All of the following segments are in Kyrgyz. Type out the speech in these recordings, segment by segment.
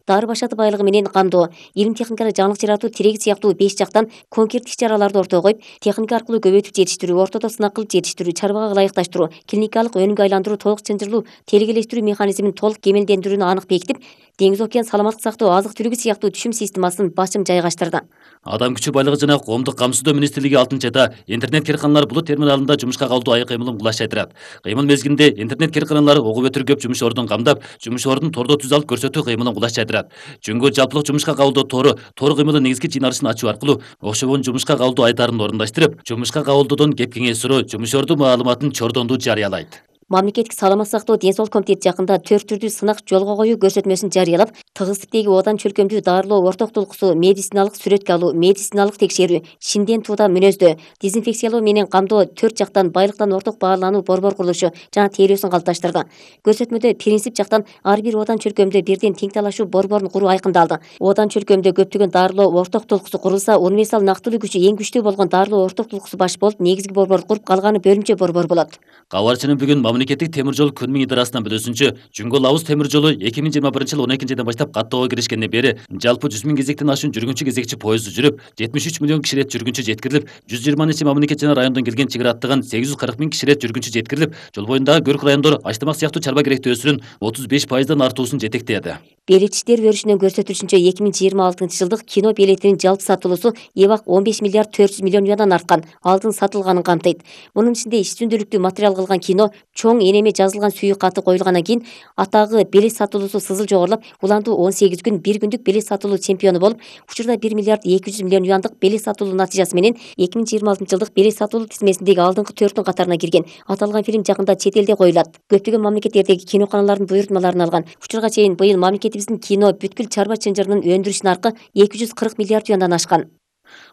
дары башаты байлыгы менен камдоо, илим техникалык жаңылык жаратуу, тирек сыяктуу 5 жактан конкреттик иш-чараларды ортого коюп, техника аркылуу көбөйтүп жетиштирүү, ортодо сынак кылып жетиштирүү, чарбага ылайыкташтыруу, клиникалык өнүмгө айландыруу, толук чынжырлуу телегелештирүү механизмин толук кемелдендирүүнү анык бекитип, деңиз океан саламаттык сактоо, азык-түлүгү сыяктуу түшүм системасын башым жайгаштырды. Адам күчү байлыгы жана коомдук камсыздоо министрлиги 6-да интернет керканалар булут терминалында жумушка калдуу ай кыймылын кулаштайдырат. Кыймыл мезгилинде интернет керканалары огу өтүр көп жумуш ордун камдап, жумуш ордун тордо түз алып көрсөтүү кыймылын кулаштайдырат. Жөнгө жалпылык жумушка кабылдоо тору кыймылы негизги жыйналышын ачуу аркылуу окшогон жумушка кабылдоо айтарын орундаштырып, жумушка кабылдоодон кеп кеңеш суроо, жумуш орду маалыматын чордондуу жарыялайт. Мамлекеттик саламаттык сактоо ден соолук комитети жакында 4 түрдүү сынак жолго коюу көрсөтмөсүн жарыялап, тыгыздыктеги одан чөлкөмдүү дарылоо ортоктулукусу, медициналык сүрөткө алуу, медициналык текшерүү, шинден туудан мүнөздөө, дезинфекциялоо менен камдоо 4 жактан байлыктан орток баалануу борбор курулушу жана тейлөөсүн калыпташтырды. Көрсөтмөдө принцип жактан ар бир одан чөлкөмдө бирден тең талашуу борборун куруу айкындалды. Одан чөлкөмдө көптөгөн дарылоо ортоктулукусу курулса, универсал нактылуу күчү эң күчтүү болгон дарылоо ортоктулукусу баш болуп, негизги борборду куруп, калганы бөлүмчө борбор болот. Кабарчынын бүгүн мамлекеттик темир жол күн идарасынан билүүсүнчө, Жүнгө Лабыз темир жолу 2021-жылы 12-айдан баштап каттоого киришкенден бери жалпы 100 000 кезектен ашуун жүргүнчү кезекчи поезду жүрүп, 73 миллион киши рет жүргүнчү жеткирилип, 120 мамлекет жана райондон келген чыгыр аттаган 840 000 киши рет жүргүнчү жеткирилип, жол боюндагы көрк райондор Аштамак сыяктуу чарба керектөөсүнүн 35%дан артуусун жетектеди. Билет иштери өрүшүнөн көрсөтүлүшүнчө 2026-жылдык кино билетинин жалпы сатылуусу эбак 15 миллиард 400 миллион юандан арткан, алдын сатылганын камтыйт. Мунун ичинде иш-түндүлүктүү материал кылган кино, чоң энеме жазылган сүйүү каты коюлгандан кийин атагы билет сатылуусу сызыл жогорулап, уландуу 18 күн 1 күндүк билет сатылуу чемпиону болуп, учурда 1 миллиард 200 миллион юандык билет сатылуу натыйжасы менен 2026-жылдык билет сатылуу тизмесиндеги алдыңкы 4-түн катарына кирген. Аталган фильм жакында чет элде коюлат. Көптөгөн мамлекеттердеги киноканалардын буйрутмаларын алган. Учурга чейин быйыл мамлекетибиздин кино бүткүл чарба чынжырынын өндүрүш наркы 240 миллиард юандан ашкан.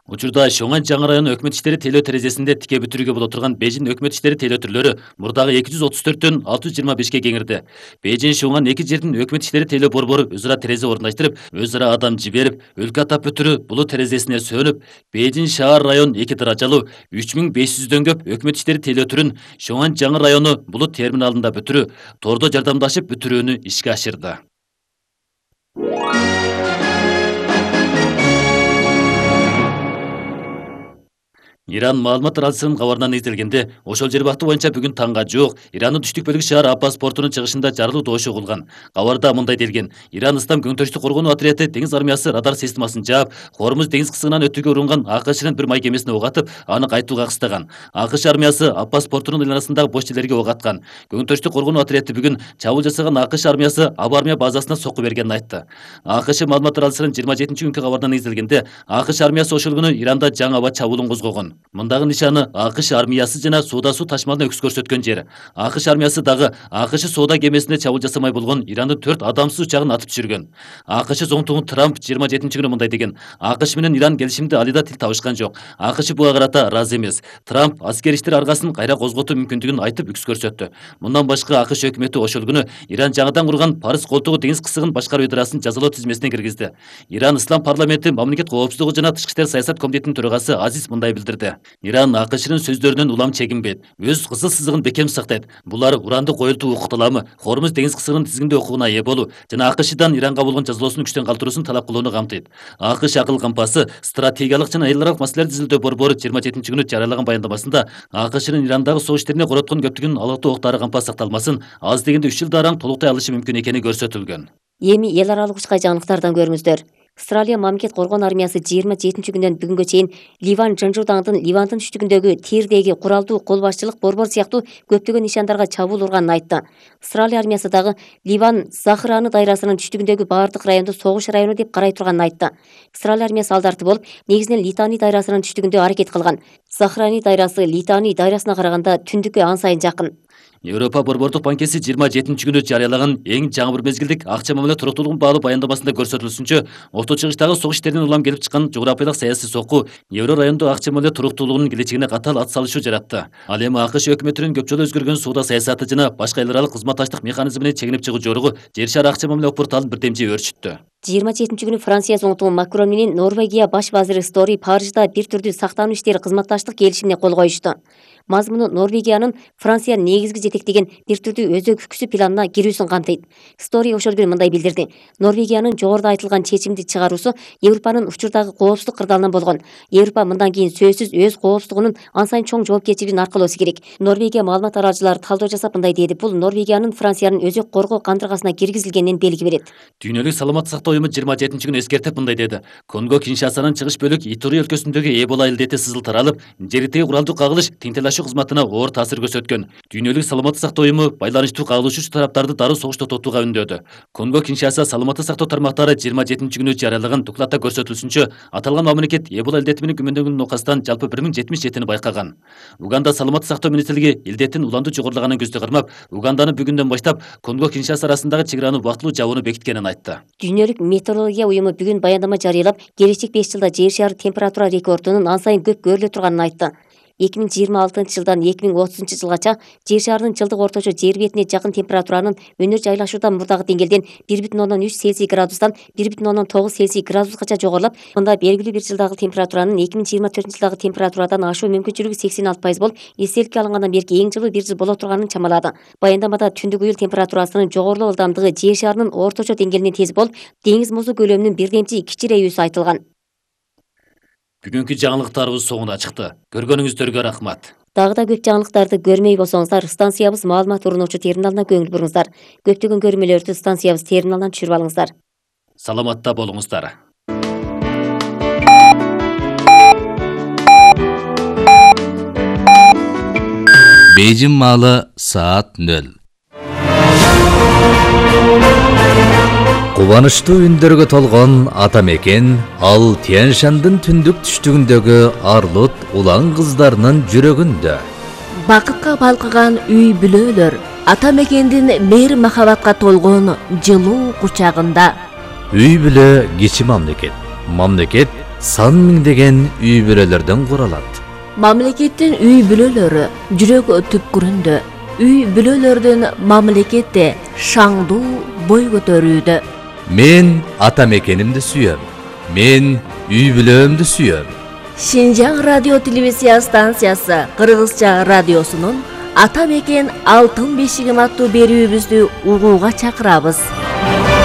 Учурда Шоңан жаңы району өкмөт иштери тейлөө терезесинде тике бүтүрүүгө боло турган Бейжин өкмөт иштери тейлөө түрлөрү мурдагы 234төн 625ке кеңирди. Бейжин Шоңан эки жердин өкмөт иштери тейлөө борбору өз ара терезе орундаштырып, өз ара адам жиберип, өлкө атап бүтүрүү булут терезесине сөнүп, Бейжин шаар район 2 даражалуу 3500дөн көп өкмөт иштери тейлөө түрүн Шоңан жаңы району булут терминалында бүтүрүү, тордо жардамдашып бүтүрүүнү ишке ашырды. Иран маалымат радиосунун кабарына негизделгенде, ошол жер бакты боюнча бүгүн таңга жуук Ирандын түштүк бөлүгү шаар Аббас портунун чыгышында жарылуу добушу угулган. Кабарда мындай делген: Иран Ислам көңтөрүштүк коргонуу отряды деңиз армиясы радар системасын жаап, Хормуз деңиз кысыгынан өтүүгө урунган АКШнын бир май кемесине ок атып, аны кайтууга кыстаган. АКШ армиясы Аббас портунун айланасындагы бош жерлерге ок аткан. Көңтөрүштүк коргонуу отряды бүгүн чабуул жасаган АКШ армиясы Аба армия базасына сокку бергенин айтты. АКШ маалымат радиосунун 27-күнкү кабарына негизделгенде, АКШ армиясы ошол күнү Иранда жаңы аба чабуулун козгогон. Мындагы нишаны АКШ армиясы жана соода суу ташмалына өкүс көрсөткөн жер. АКШ армиясы дагы АКШ соода кемесине чабуул жасамай болгон Ирандын 4 адамсыз учагын атып түшүргөн. АКШ зоңтугу Трамп 27-күнү мындай деген: АКШ менен Иран келишимди алыда тил табышкан жок. АКШ буга карата ыраазы эмес. Трамп аскер иштер аргасын кайра козготуу мүмкүндүгүн айтып үкүс көрсөттү. Мындан башка АКШ өкмөтү ошол күнү Иран жаңыдан курган Парыз колтугу деңиз кысыгын башкаруу ыдырасын жазалоо тизмесине киргизди. Иран Ислам парламенти мамлекет коопсуздугу жана тышкы иштер саясат комитетинин төрагасы Азиз мындай билдирди: Иран АКШнын сөздөрүнөн улам чегинбейт, өз кызыл сызыгын бекем сактайт. Булар уранды коюлтуу укукталамы, Хормуз деңиз кысыгынын тизгиндөө укугуна ээ болуу жана АКШдан Иранга болгон жазалоосун күчтөн калтыруусун талап кылууну камтыйт. АКШ акыл кампасы стратегиялык жана эл аралык маселелерди изилдөө борбору 27-күнү жарыялаган баяндамасында АКШнын Ирандагы согуш иштерине короткон көптөгөн алгактуу октары кампаа сакталмасын аз дегенде 3 жылда араң толуктай алышы мүмкүн экени көрсөтүлгөн. Эми эл аралык учкай жаңылыктардан көрүңүздөр. Австралия мамлекет коргоон армиясы 27-күндөн бүгүнгө чейин Ливан Жанжурдаңдын Ливандын түштүгүндөгү Тирдеги куралдуу кол башчылык борбор сыяктуу көптөгөн нишандарга чабуул урганын айтты. Австралия армиясы дагы Ливан Захраны дайрасынын түштүгүндөгү баардык районду согуш району деп карай турганын айтты. Австралия армиясы алдарты болуп, негизинен Литани дайрасынын түштүгүндө аракет кылган. Захрани дайрасы Литани дайрасына караганда түндүккө ан сайын жакын. Европа борбордук банкеси 27-күнү жарыялаган эң жаңы бир мезгилдик акча мамиле туруктуулугун баалуу баяндамасында көрсөтүлүшүнчө, Орто чыгыштагы согуш иштеринен улам келип чыккан жогорапиялык саясий сокку евро райондо акча мамиле туруктуулугунун келечегине катаал ат салышуу жаратты. Ал эми АКШ өкмөтүнүн көп жолу өзгөргөн соода саясаты жана башка эл аралык кызматташтык механизмине чегинип чыгуу жоругу жер шары акча мамиле порталын бирдемчи өөрчүттү. 27 күнү Франция зоңтугу Макрон менен Норвегия баш вазири Стори Парижда бир түрдүү сактануу иштери кызматташтык келишимине кол коюшту. Мазмуну Норвегиянын Франциянын негизги жетектеген бир түрдүү өзөгүксү планына кирүүсүн камтыйт. Стори ошол күнү мындай билдирди. Норвегиянын жогоруда айтылган чечимди чыгаруусу Европанын учурдагы коопсуздук кырдаалынан болгон. Европа мындан кийин сөзсүз өз коопсуздугунун ан сайын чоң жоопкерчилигин аркалоосу керек. Норвегия маалымат аралчылары талдоо жасап мындай деди. Бул Норвегиянын Франциянын өзөк коргоо кандыргасына киргизилгенинен белги берет. Дүйнөлүк саламаттык сактоо уюму 27 күнү эскертип мындай деди. Конго Киншасанын чыгыш бөлүк Итури өлкөсүндөгү Эбола илдети сызыл таралып, жердеги куралдуу кагылыш тинтелашуу кызматына оор таасир көрсөткөн. Дүйнөлүк саламаттык сактоо уюму байланыштуу кагылышуучу тараптарды дароо согуш токтотууга үндөдү. Конго Киншаса саламаттык сактоо тармактары 27 күнү жарыялаган докладта көрсөтүлүшүнчө, аталган мамлекет Эбола илдети менен күмөндөнгөн нокастан жалпы 1077-ни байкаган. Уганда саламаттык сактоо министрлиги илдеттин уланды жогорулаганын көздө кармап, Уганданы бүгүндөн баштап Конго Киншаса арасындагы чек араны убактылуу жабууну бекиткенин айтты. Дүйнөлүк метеорология уюму бүгүн баяндама жарыялап, келечек 5 жылда жер шары температура рекордунун ан сайын көп көрүлө турганын айтты. 2026 жылдан 2030 жылгача жер шарынын жылдык орточо жер бетине жакын температуранын өнөр жайлашуудан мурдагы деңгээлден 1,3 Цельсий градустан 1,9 Цельсий градускача жогорулап, мында белгилүү бир жылдагы температуранын 2024 жылдагы температурадан ашуу мүмкүнчүлүгү 86% болуп, эстеликке алынгандан берки эң жылуу бир жыл боло турганын чамалады. Баяндамада түндүк уюл температурасынын жогорулоо ылдамдыгы жер шарынын орточо деңгээлинен тез болуп, деңиз музу көлөмүнүн бирдемчи кичирейүүсү айтылган. Бүгүнкү жаңылыктарыбыз соңуна чыкты. Көргөнүңүздөргө рахмат. Дагы да көп жаңылыктарды көрмөй болсоңуздар, станциябыз маалымат урунуучу терминалына көңүл буруңуздар. Көптөгөн көрмөлөрдү станциябыз терминалынан түшүрүп алыңыздар. Саламатта болуңуздар. Бейжин маалы саат 0. Кубанычтуу үндөргө толгон ата мекен ал Тянь-Шандын түндүк түштүгүндөгү Арлут улан кыздарынын жүрөгүндө. Бакытка балкыган үй бүлөлөр ата мекендин мейир махабатка толгон жылуу кучагында. Үй бүлө кичи мамлекет. Мамлекет сан миңдеген үй бүлөлөрдөн куралат. Мамлекеттин үй бүлөлөрү жүрөк түпкүрүндө. Үй бүлөлөрдүн мамлекетте шаңдуу бой көтөрүүдө. Мен ата мекенимди сүйөм. Мен үй бүлөмдү сүйөм. Шинжаң радио телевизия станциясы Кыргызча радиосунун Ата мекен алтын бешигим аттуу берүүбүздү угууга чакырабыз.